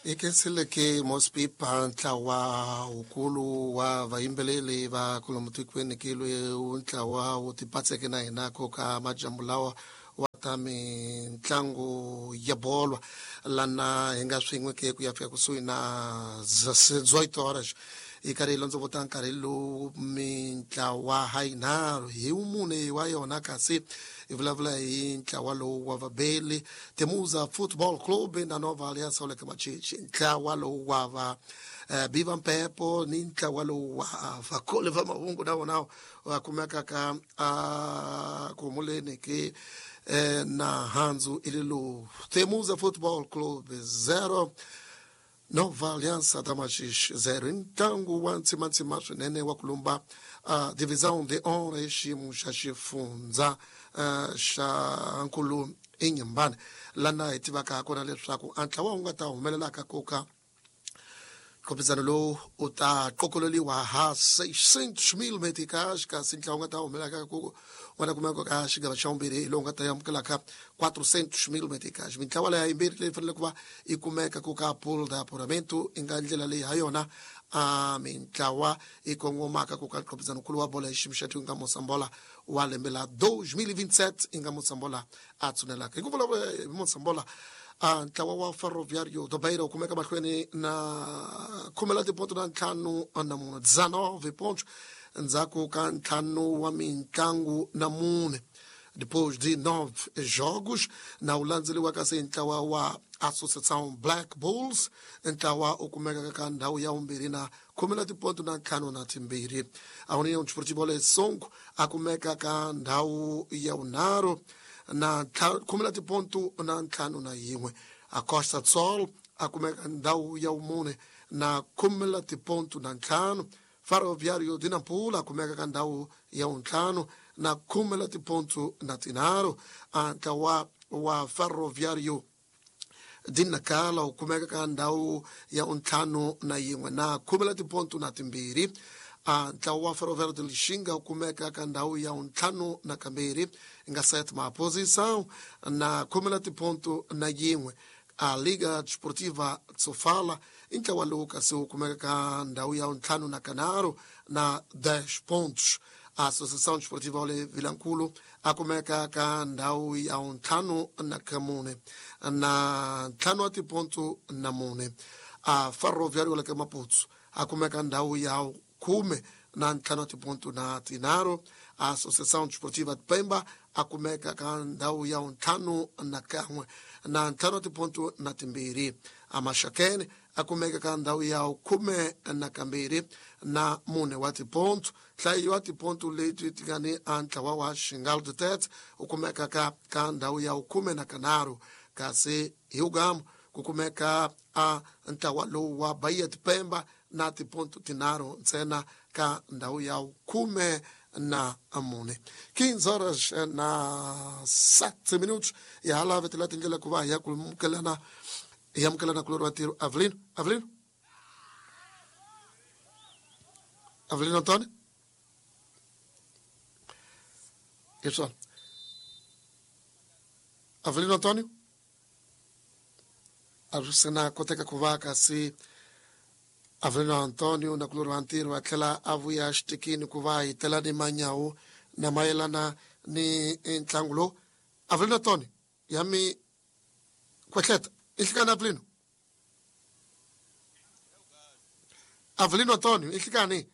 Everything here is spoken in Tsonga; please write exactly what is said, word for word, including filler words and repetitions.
Ikenseleke Mospipa ntlawa ukulu wa vayimbeleli va kulomu tikweni kilwe ntlawa wu tipatseke na hina ko ka majambu lawa wa ta mitlangu ya bolo lana hi nga swin'we ke ku ya fika kusuhi na dezoito horas hi karhi hi londzovota nkarhi lowu mintlawa ha yinharhu hi mune wa yona kasi hi vulavula hi ntlawa lowu wa vabeli Temuza Football Club na Nova Aliança Oleka Machichi ntlawa lowu wa va eh, Biva Mpepo ni ntlawa lowu wa vakoli va mahungu na wona wa kumeka ka a kumuleni ke eh, na hanzu ililo Temuza Football Club zero Nova Aliança da Machixe zero. Ntlangu wa ntsimantsima swinene wa kulumba uh, divisão de honra hi xiyimo xa xifundza uh, xa nkulu Inhambane lana hi tivaka kona leswaku a ntlawa wu nga ta humelelaka koka nkhopizano lowu u ta qokololiwa ha seiscentos mil meticais kasi ntlawa wu nga ta humelelaka ku nga ta kumeka ka xigava xa vumbirhi hi lowu nga ta amukelaka quatrocentos mil meticais. Mintlawa leya yimbirhi leyi fanele ku va yi kumeka ku ka pool de apuramento i nga ndlela leyi ha yona a mintlawa yi kongomaka ku ka nkhopizano nkulu wa bolo hi xiyimo xa nga Mosambola wa lembe la dois mil e vinte e sete i nga Mosambola a tshunelaka hi ku vulavula hi Mosambola a ntlawa wa Ferroviário do Beira wu kumeka mahlweni na khume la tiponto na ntlhanu na mune dezenove pontos ndzhaku ka ntlhanu wa mitlangu na mune depois de nove jogos na wu landzeliwa kasi ntlawa wa Associação Black Bulls ntlawa u kumeka ka ndhawu ya vumbirhi na khume la tiponto na ntlhanu na timbirhi. A União Desportiva Songo a kumeka ka ndhawu ya vunharhu na khume la tiponto na ntlhanu na yin'we. A Costa do Sol a kumeka ndhawu ya vumune na khume la tiponto na ntlhanu. Ferroviário de Nampula a kumeka ka ndhawu ya vuntlhanu na khume la tiponto na tinharhu. A ntlawa wa Ferroviário de Nacala wu kumeka ka ndhawu ya vuntlhanu na yin'we na khume la tiponto na timbirhi. A ntlawa wa Ferroviário de Lixinga wu kumeka ka ndhawu ya vuntlhanu na kambirhi nga sétima posição na khume la tiponto na yin'we. A Liga Desportiva Sofala i ntlawa lowu kasi wu kumeka ka ndhawu ya vuntlhanu na kanharhu na dez pontos. A Associação Desportiva Ole Vilankulu a kumeka ka ndhawu ya vuntlhanu na kamune na ntlhanu wa tiponto na mune. A Ferroviário la ka Maputo a kumeka ndhawu ya khume na ntlhanu wa tiponto na tinharhu. A Associação Desportiva de Pemba a kumeka ka ndhawu ya vuntlhanu na kan'we na ntlhanu wa tiponto na timbirhi. A Maxakene a kumeka ka ndhawu ya khume na kambirhi na mune wa tiponto. Nhlayo wa tiponto leti ti nga ni a ntlawa wa Xingal de Tete u kumeka ka ka ndhawu ya khume na kanharhu kasi hi ugamu ku kumeka a ntlawa lowu wa Bahia de Pemba na tiponto tinharhu ntsena ka ndhawu ya khume na mune. quinze horas na sete minutos ya hala vetela tindlela ku va hi ya kumukelana hi amukelana kulori wa ntirho Avelino Avelino Avelino Antônio hi swona Avelino Antônio a swi sena koteka ku va kasi Avelino Antônio na kulori wa ntirho a tlhela a vuya xitikini ku va hi tela ni manyawu na mayelana ni ntlangu lowu. Avelino Antônio ya mi kwehleta i nhlikani Avelino Avelino Antônio i nhlikani